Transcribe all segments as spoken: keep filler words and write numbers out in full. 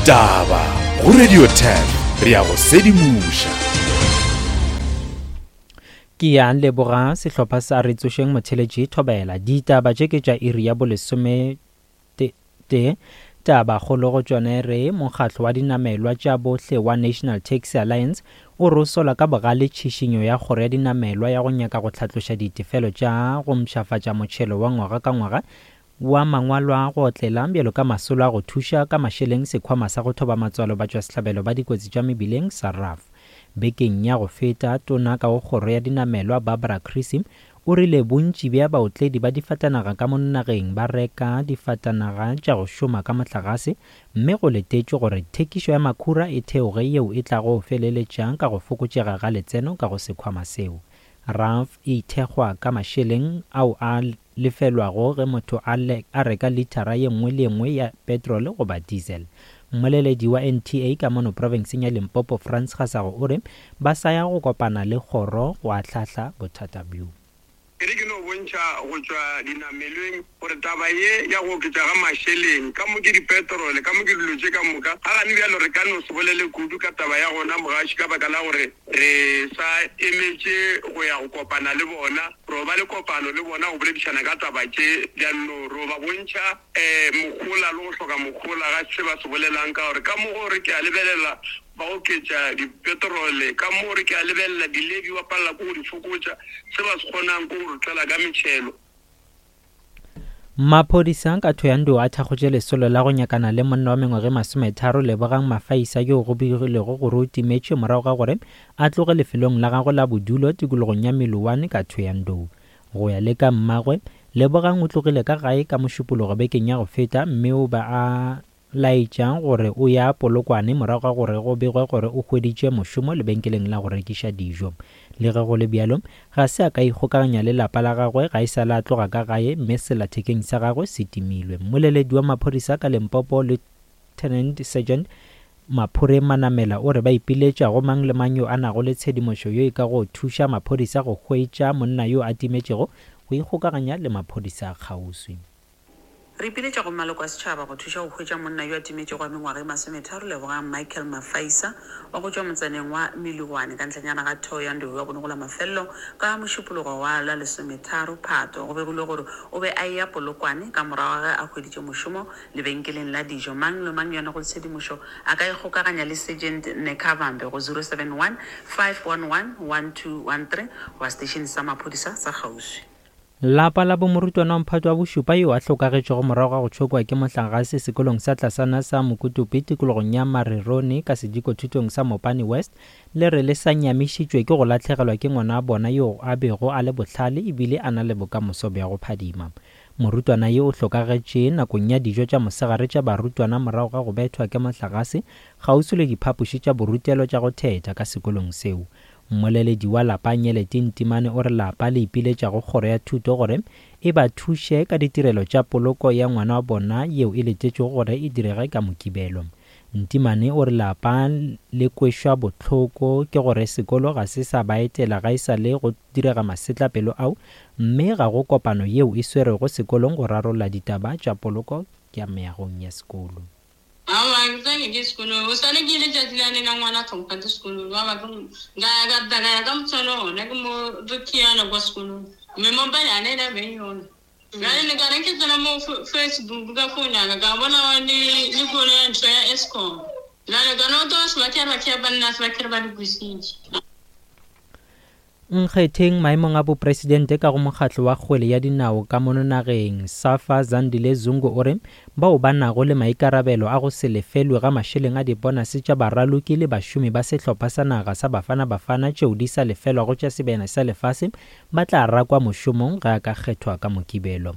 Ditaba go Radio ten re ya go sedimoša. Ke ya leboga sehlopha sa Re Tsošeng Motheletši Thobela. Ditaba tše ke tša iri ya bolesome tee. Taba kgolo go tšone re mokgatlo wa dinamelwa tša bohle wa National Taxi Alliance o re o sola ka bogale tšhišinyo ya kgoro ya dinamelwa ya go nyaka go hlatloša ditefelo tša go mpshafatša motšhelo wa ngwaga ka ngwaga wa mangwalo a go otlela bjalo ka masolo a go thuša ka mašeleng sekhwama sa go thoba matswalo batšwasehlabelo ba dikotsi tša mebileng sa R A F. Bekeng ya go feta, tona ka go kgoro ya dinamelwa Barbara Creecy o rile bontši bja baotledi ba difatanaga ka mo nageng ba reka difatanaga tša go šoma ka mohlagase, mme go letetšwe gore thekišo ya makhura e theoge yeo e tlago feleletša ka go fokotšega ga letseno ka go sekhwama seo. R A F e ithekgwa ka mašeleng ao a lefelwago ge motho a, le, a reka litara ye nngwe le ye nngwe ya petrol goba diesel. Mmoleledi wa N T A ka mono profenseng ya Limpopo Frans Gasago o re ba sa ya go kopana le kgoro go ahlahla bothata bjo. Ke re ke no bontšha go tšwa dinamelweng gore taba ye ya go oketša ga mašeleng ka mo ke dipetrole ka mo ke dilo tše ka moka ga gane bjalo re ka no se bolele kudu ka taba ya gona mogaši ka baka la gore re sa emetše go ya go kopana le bona, ro ba le kopano le bona go boledišana ka taba tše bjano ro ba bontšha um mogola le go hloka mogola ga se ba se bolelang ka gore ka mo gore ke a lebelela ba oketša dipetrole ka mo re ke a lebelela dilebi ba palela ko go di fokotša se ba se kgonang ko go re tlela ka metšhelo. Maphodisa ka Thohoyandou a thakgotše lesolo la go nyakana le monna wa mengwaga e masometharo Lebogang Mafaisa yo go begilwego gore o timetše morago ga gore a tloge lefelong la gagwe la bodulo tikologong ya Meloane ka Thohoyandou. Go ya le ka mmagwe, Lebogang o tlogile ka gae ka Mošupologo bekeng ya go feta mme o ba a laetša gore o ya Polokwane morago ga gore go begwe gore o hweditše mošomo lebenkeleng la go rekiša dijo. Le ge go le bjalo, ga se a ka ikgokaganya le lapa la gagwe ga e sa le a tloga ka gae mme sellathekeng sa gagwe se timilwe. Mmoleledi wa maphodisa ka Limpopo Lieutenant Sergeant Maphure Manamela o re ba ipiletša go mang le mang yo a nago le tshedimošo yo e ka go thuša maphodisa go hwetša monna yo a timetšego go ikgokaganya le maphodisa a kgauswi. Re ipiletša go maloko a setšhaba go thuša go hwetša monna yo a timetšego wa mengwaga e masometharo Lebogang Michael Mafaisa wa go tšwa motsaneng wa Meloane ka ntlhanyana ga Thohoyandou wa bonogola mafelelo ka mošupologo wa la lesometharo Phato. Go begilwe gore o be a eya Polokwane ka morago ga ge a hweditše mošomo lebenkeleng la dijo. Mang le mang yo a nago le tshedimošo a ka ikgokaganya le Sergeant Nekavambe go zero seven one, five one one, one two one three goba seteišene sa maphodisa sa kgauswi. Lapa la bomorutwana wa mphato wa bošupa yo a hlokagetšego morago ga go tšhokwa ke mohlagase sekolong sa tlasana sa Mokutupi tikologong ya Marerone ka sedikothutong sa Mopani West le re le sa nyamišitšwe ke go lahlegelwa ke ngwana wa bona yo a bego a le bohlale ebile a na le bokamoso bja go phadima. Morutwana yo o hlokagetše nakong ya dijo tša mosegare tša barutwana morago ga go bethwa ke mohlagase kgauswi le diphapoši tša borutelo tša go thetha ka sekolong seo. Mmoleledi wa lapa Nyeleti Ntimane o re lapa le ipiletša go kgoro ya thuto gore e ba thuše ka ditirelo tša poloko ya ngwana wa bona yeo e letetšwego gore e direge ka Mokibelo. Ntimane o re lapa le kwešwa bohloko ke gore sekolo ga se sa ba etela ga e sa le go direga masetlapelo ao, mme ga go kopano yeo e swerwego sekolong go rarolla ditaba tša poloko ya meagong ya sekolo. Aowa, ke tsene ke sekolong. O swane ke ile tšatši lane la ngwana tlhompha sekolong. Ba ba ka ya ka ka ya ka motshwana ona ke mo re khiana kwa sekolong. Mme mobile ane la beng yona. Bjale ne ka re ke tsena mo Facebook ka phone ya ka ka bona le le kolo ya ntho ya Eskom. Bjale ka no to se ba ke ba ke ba nna se ba ke ba di kwisitše. Nkgetheng maemong a bopresidente ka go mokgatlo wa kgwele ya dinao ka mono nageng Safa Zandile Zungu o re bao ba nago le maikarabelo a go se lefelwe ga mašeleng a dibonase tša baraloki le bašomi ba sehlopha sa naga sa Bafana Bafana tšeo di sa lefelwago tša sebjana sa lefase ba tla rakwa mošomong ge a ka kgethwa ka Mokibelo.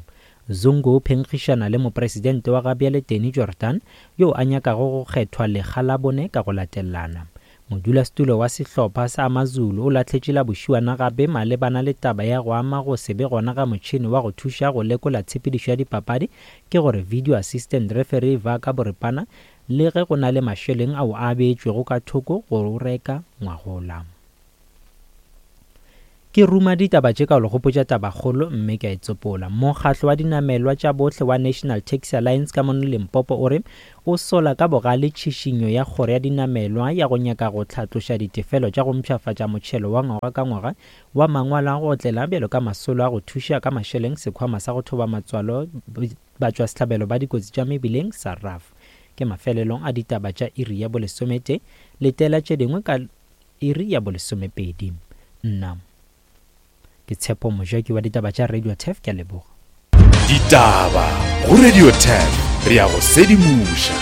Zungu o phenkgišana le mopresidente wa gabjale Danny Jordaan yo a nyakago go kgethwa lekga la bone ka go latelana. Modulasetulo wa sehlopha sa AmaZulu o lahletše la bošiwana gape malebana le taba ya go ama go se be gona ga motšhene wa go thuša go lekola tshepedišo ya dipapadi ke gore video assistant referee va ka boripana le ge go na le mašeleng ao a beetšwego ka thoko go reka ngwagola. Ke ruma ditaba tše ka go le gopotša tabakgolo mme ke a e tsopola. Mokgatlo wa dinamelwa tša bohle wa National Taxi Alliance ka mono Limpopo o re o sola ka bogale tšhišinyo ya kgoro ya dinamelwa ya go nyaka go hlatloša ditefelo tša go mpshafatša motšhelo wa ngwaga ka ngwaga wa mangwalo a go otlela bjalo ka masolo a go thuša ka mašeleng sekhwama sa go thoba matswalo batšwasehlabelo ba dikotsi tša mebileng sa R A F. Ke mafelelong a ditaba tša iri ya bolesomete, letela tše dingwe ka iri ya bolesomepedi. Nna ke Tshepo Mojaki wa ditaba tša Radio Turf, ke a leboga. Ditaba go Radio Turf, re ya go sedimoša.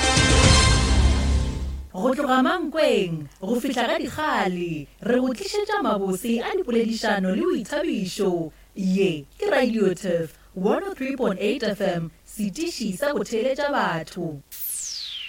Go tloga Mankweng go fihla ga Dikgale, re go tlišetša mabose a dipoledišano le boithabišo. Ye ke Radio Turf one oh three point eight F M, setiši sa go theeletša batho.